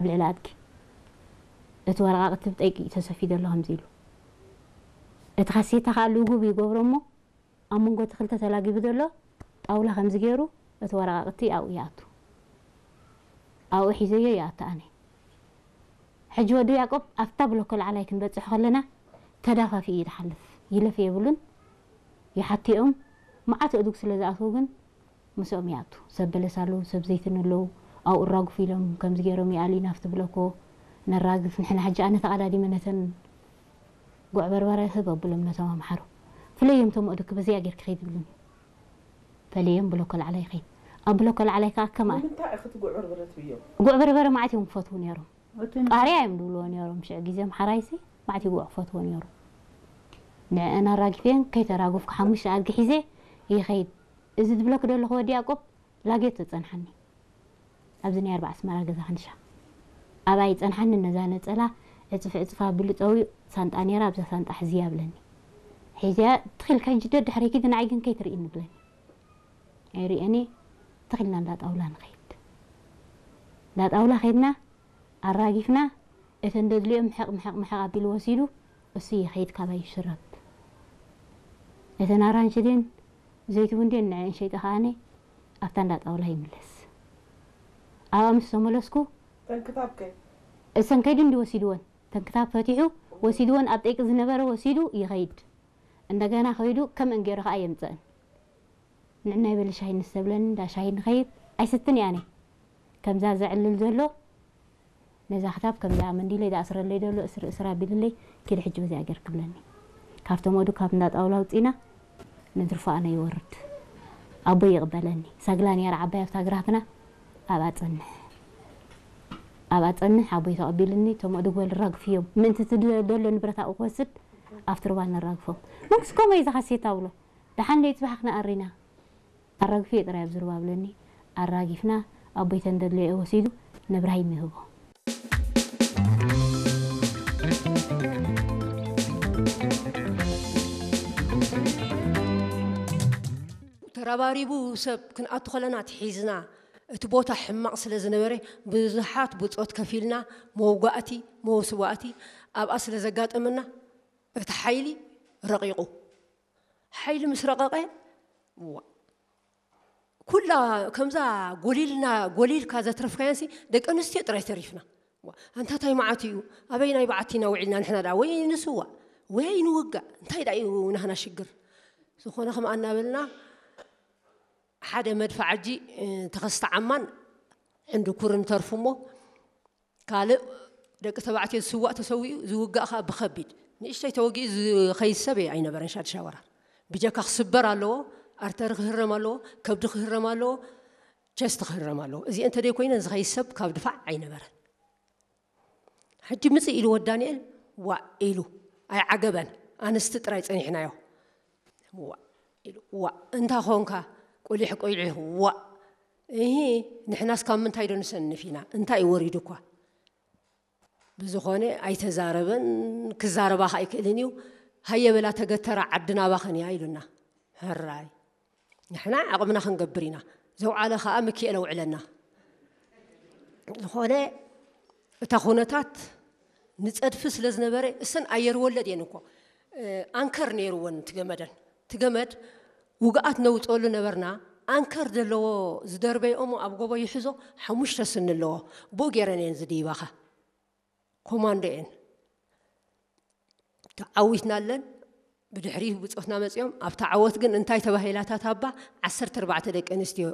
ኣብ ልዕሊ ኣድጊ። እቲ ወረቓቕቲ ብጠይቂ ተሰፊ ዘሎ ከምዚ ኢሉ። እቲ ካሴታ ከዓ ልጉብ ይገብሮ እሞ ኣብ መንጎ እቲ ክልተ ተላጊቡ ዘሎ ጣውላ ከምዚ ገይሩ እቲ ወረቓቕቲ ኣብኡ ይኣቱ። ኣብኡ ሒዘዮ ይኣቱ ኣነ። ሕጂ ወዲ ያዕቆብ ኣብታ ብሎኮ ላዕላይ ክንበጽሕ ከለና ተዳፋፊ እዩ ዝሓልፍ። ይለፍ የብሉን። ይሓትኦም። መዓት እዱግ ስለ ዝኣትዉ ግን ምስኦም ይኣቱ። ሰብ በለስ ኣለዉ፣ ሰብ ዘይትን ኣለዉ። ኣብኡ ራጉፍ ኢሎም ከምዚ ገይሮም ይኣሊ ናብቲ ብሎኮ ነራግፍ። ንሕና ሕጂ ኣነ ተቐዳዲመ ነተን ጉዕ በርበረ ህብ ኣብሎም ነቶም ኣምሓሩ። ፍለዮም ቶም እዱግ በዚኣ ጌርክ ከይድ ይብሉኒ። ፈለዮም ብሎኮ ላዕላይ ይኸይድ። ኣብ ብሎኮ ላዕላይ ከዓ ከማን ንምንታይ ኢኺ እቲ ጉዕ በርበረ ትብዮ? ጉዕ በርበረ መዓት እዮም ክፈትዉ ነይሮም። እቲ ቃርያ እዮም ዝብልዎ ነይሮም። ሽዕ ግዜ ኣምሓራይሲ መዓት እዩ ጉዕ ክፈትዎ ነይሩ። ንዕአን ኣራጊፈን ከይተራጉፍኩ ሓሙሽተ ኣድጊ ሒዘ ይኸይድ። እዚ ዝብለክ ዘለኹ ወዲ ያዕቆብ ላጌት ተጸንሓኒ። ኣብዚ ናይ ኣርባዓ ኣስመራ ገዛ ክንሻ። ኣብኣ ይጸንሓኒ ነዛ ነጸላ ዕጽፍ ዕጽፍ ኣቢሉ ጸዊኡ ሳንጣ ነይራ ኣብዛ ሳንጣ ሕዝያ ብለኒ። ሒዝያ ትኺልካ ሕጂ ደድሕረይ ኪዲ ንዓይ ግን ከይትርእይኒ ብለኒ። ኣይርእየኒ ትኺልና እንዳ ጣውላ ንኸይድ። እንዳ ጣውላ ኸይድና ኣራጊፍና እተን ደድልዮም ምሕቕ ምሕቕ ምሕቕ ኣቢሉ ወሲዱ እሱ ይኸይድ ካባይ ይሽረብ። እተን ኣራንሺ ድን ዘይቲ እውን ድን ንዐን ሸይጠ ከኣነ ኣብታ እንዳ ጣውላ ይምለስ። ኣብኣ ምስ ተመለስኩ ተንክታብ ከ እሰን ከይዱ እንዲ ወሲድወን ተንክታብ ፈቲሑ ወሲድወን ኣብ ጠይቂ ዝነበረ ወሲዱ ይኸይድ። እንደገና ከይዱ ከም እንጌሮ ከኣ የምፅእን። ንዕናይ በሊ ሻሂ ንስተብለኒ እንዳ ሻሂ ንኸይድ ኣይስትን እየ ኣነ። ከምዛ ዘዕልል ዘሎ ነዛ ክታብ ከምዛ መንዲለይ ዝኣስረለይ ዘሎ እስር እስር ኣቢልለይ ኪዲ ሕጂ በዚኣ ጌርክ ብለኒ። ካብቶም ወዱ ካብ እንዳ ጣውላ ኣውፂና ንድርፎ ኣነ ይወርድ። ኣቦይ ይቕበለኒ። ሰግላ ነይራ ዓባይ ኣብታ ግራትና ኣብኣ ጸንሕ። ኣብኣ ጸንሕ ኣቦይ ተቐቢሉኒ። እቶም ኣእዱግ በል ራግፍዮም። ምእንቲ እቲ ደ- ደሎ ንብረት ኣብኡ ክወስድ ኣብቲ ሩባ ነራግፎም። መንግስቲ ከምኡ እዩ ዝሓሴት ኣብሎ። ደሓን ደይ ጽባሕ ክንኣሪና። ኣራግፍዮ ጥራይ ኣብዚ ሩባ ብለኒ። ኣራጊፍና ኣቦይ ተን ደድለዮ ወሲዱ ንብራሂም ይህቦ። ተረባሪቡ ሰብ ክንኣቱ ከለና ትሒዝና እቲ ቦታ ሕማቕ ስለ ዝነበረ ብዙሓት ብጾት ከፊልና መውጋእቲ መውስዋእቲ ኣብኣ ስለ ዘጋጠመና እቲ ሓይሊ ረቒቑ። ሓይሊ ምስ ረቐቐ ዋ ኩላ ከምዛ ጎሊልና ጎሊልካ ዘትረፍካየንሲ ደቂ ኣንስትዮ ጥራይ ተሪፍና። ዋ፣ ኣንታ ታይ መዓት እዩ? ኣበይ ናይ በዓቲ ኢና ውዒልና ንሕና ደኣ ወይ ንስዋእ ወይ ኣይንውጋእ እንታይ ደኣ እዩ ናህና ሽግር? ዝኾነ ከም ኣናበልና ሓደ መድፍዓጂ ተኸስተ ዓማን ሕንድኩርን ተርፉ እሞ ካልእ ደቂ ተባዕትዮ ዝስዋእ ተሰዊኡ ዝውጋእ ከዓ ብኸቢድ ንእሽተይ ተወጊኡ ዝኸይድ ሰብ ኣይነበረን። ሻድሻ ወራር ብጀካ ክስበር ኣለዎ፣ ኣርተሪ ክህረም ኣለዎ፣ ከብዲ ክህረም ኣለዎ፣ ቸስቲ ክህረም ኣለዎ። እዚአን ተደይ ኮይነን ዝኸይድ ሰብ ካብ ድፋዕ ኣይነበረን። ሕጂ ምጽእ ኢልዎ ዳንኤል ዋእ ኢሉ ኣይዓገበን። ኣንስቲ ጥራይ ጸኒሕናዮ። ዋእ ኢሉ ዋእ እንታ ኾንካ ቁሊሕ ቁሊሕ ዋእ እሂ ንሕናስ ካብ ምንታይ ዶ ንሰንፍ ኢና እንታይ እዩ ወሪዱ እኳ ብዝኾነ ኣይተዛረበን። ክዛረባ ከ ኣይክእልን እዩ። ሃየ በላ ተገተራ ዓዲ ናባኸን እያ ኢሉና። ሕራይ ንሕና ዓቕምና ክንገብር ኢና። ዘውዓለ ከዓ ምክኤል ኣውዕለና። ዝኾነ እታ ኩነታት ንፀድፊ ስለ ዝነበረ እሰን ኣየር ወለድ እየን እኮ ኣንከር ነይርወን ትገመደን ትገመድ ውግኣት ነውፀሉ ነበርና። ኣንከር ዘለዎ ዝደርበይኦሞ ኣብ ጎቦ ይሕዞ ሓሙሽተ ስኒ ኣለዎ። ብኡ ገይረን እየን ዝድይባኻ ኮማንዶ እየን ተዓዊትና ኣለን። ብድሕሪ ብፆትና መፂኦም ኣብታ ዓወት ግን እንታይ ተባሂላታት ኣባ ዓሰርተ ኣርባዕተ ደቂ ኣንስትዮ